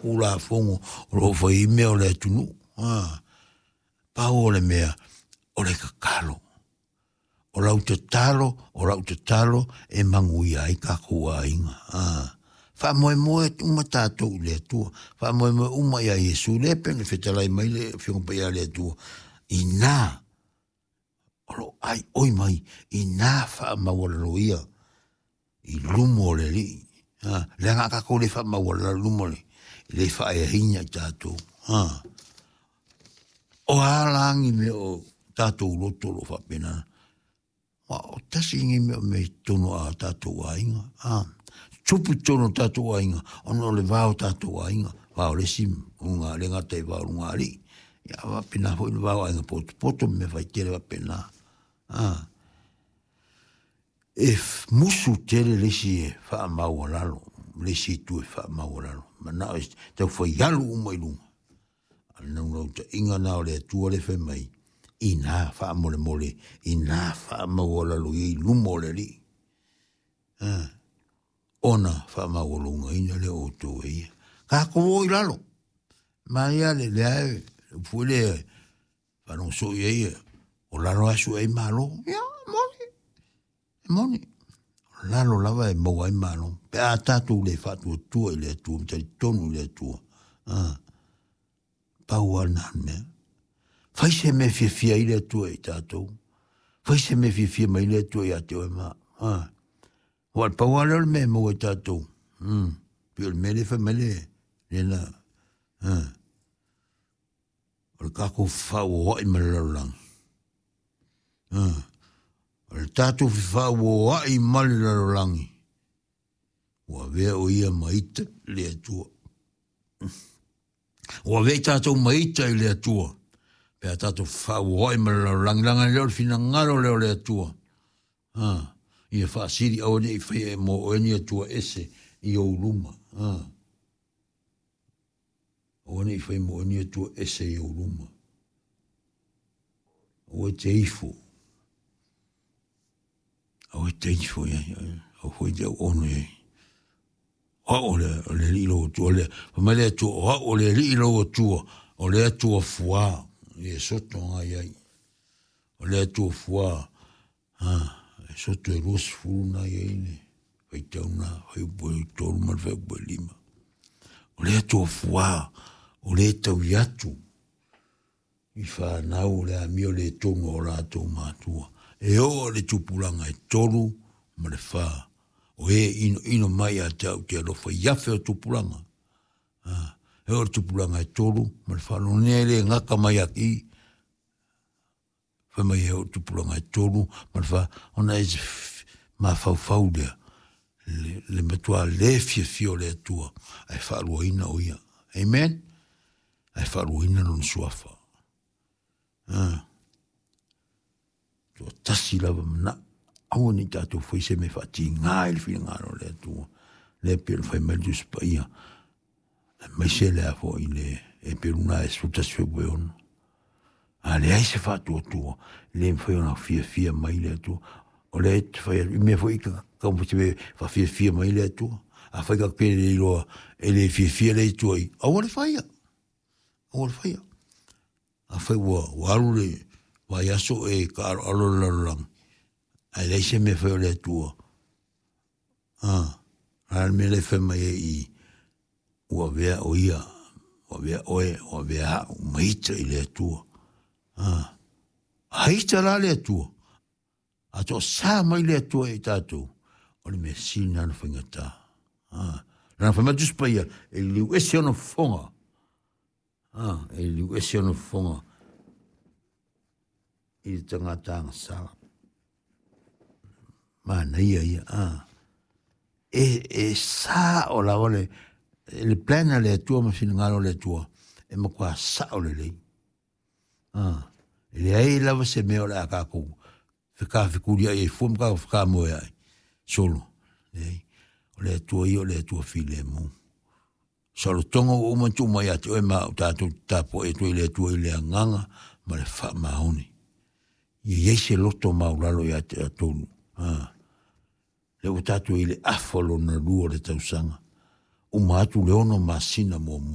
Tulafono o lo o fai ai mea o le atunuu. Pau o le mea, o le tatalo. O lau tatalo, o lau tatalo e manuia ai tatou aiga. Faamoemoe uma tatou i le Atua, faamoemoe uma ia Iesu, lea e pei ona fetalai mai le Afioga Paia a le Atua, ina o lo o aioi mai, ina faamaualaloia i luma o le Alii. Leaga a tatou le faamaualalo i luma o le, e le faaeaina i tatou. O a la ni mea o tatou loto o lo o faapena? Aua o tasi lenei mea o mea i totonu o tatou aiga. Tupu i totonu o tatou aiga, ona o le va o tatou aiga, va o le isi luga, le gata i va o lugalii, ia a faapena foi le va o aiga potopoto ma mea faitele faapena. E musu tele le isi e faamaualalo, le isi itu e faamaualalo, manao e tau fai alu uma i luga. A o le naunautaiga lena o le Atua lea e fai mai, ina faamolemole, ina faamaualalo ia i luma o le Alii, ona faamaualugaina lea o outou e ia. Tatou o i lalo, manaia le lea e upu foi lea faalogo soo i ai, o lalo lava e sue ai malo. Ia, e moni, e moni. O lalo lava e maua ai malo. Pe a tatou le faatuatua i le Atua, ma talitonu i le Atua. Pau lava lena o le mea. Fai se mea e fiafia ai le Atua i tatou. Fai se mea e fiafia mai le Atua ia te oe ma. Aua o le pau lava lea o le mea e maua i tatou. Pei o le mea lea e fai mai le, lena. O le tatou fefauoai ma le lalolagi. O le tatou fefauoai ma le lalolagi, ua avea o ia ma ita i le Atua. Ua avea i tatou ma ita i le Atua, pe a tatou fefauoai ma le lalolagi, leaga e le o le finagalo lea o le Atua. Ia faasili aua ne i faia e mo oe ni Atua ese i ou luma. Aua ne i fai mo oe ni Atua ese i ou luma. Aua e te ifo. Aua e te ifo i ai. Aua foi e te auono i ai. O au o le, o le Alii lou Atua. Le, fai mai le Atua, o au o le Alii lou Atua, o le Atua fuā. I e soto nga i ai. O le Atua fuā. E soto e 20 na i ai le faitau na, fuaiupu e 3 ma le fuaiupu e 5. O le Atua fuā, o le taui atu i whanau o le amio le tonu o latou matua. E oo i le tupulaga e 3 ma le 4. O e ino ino mai ia te au te alofa i afe o tupulaga. E oo i le tupulaga e 3 ma le 4. Lona e le gata mai a ki, fai mai e oo i le tupulaga e 3 ma le 4, ona e mafaufau lea, le matua le fiafia o le Atua, ae faaluaina o ia. Amen? Ae faaluaina lona suafa. Toatasi lava manao. Aua ne i tatou fai se mea e faatiga ai le finagalo o le Atua. Lea pei ona fai mai le Tusi Paia, aemaise le a foi le Eperu na e 11:6. A leai se faatuatua, e le mafai ona fiafia mai le Atua. O lea e te fai atu, i mea foi ka taumafai se faafiafia mai le Atua. Afai ka te le iloa e le fiafia le Atua i, aua le faia. Aua le faia. Afai ua alu le vaiaso e taaloalo le lalolagi, ae leai se mea fai o le Atua. A le mea lea e fai mai ai i, ua avea o ia, ua avea oe, ua avea au ma ita i le Atua. A ita la le Atua, a toasa mai le Atua i tatou, o le mea sili lena na faigata. Lana fai mai le Tusi Paia, e liliu ese ona fofoga. E liliu ese ona fofoga i le tagata agasala. Manaia ia. E sao lava le plan a le Atua ma finagalo o le Atua, e matua sao lelei. E leai lava se mea o le a tatou fekafekuliai ai fua ma tatou fekamoeai solo. Leai. O le Atua ia o le Atua filemu. Saolotoga ua uma ona tuu mai ia te oe ma au tatou te tapuai atu ai i le Atua i le agaga ma le faamaoni. Ia i ai se loto maulalo ia te tatou. Lea ua tatou i le afa lona lua o le tausaga. Uma atu le 6 masina muamua.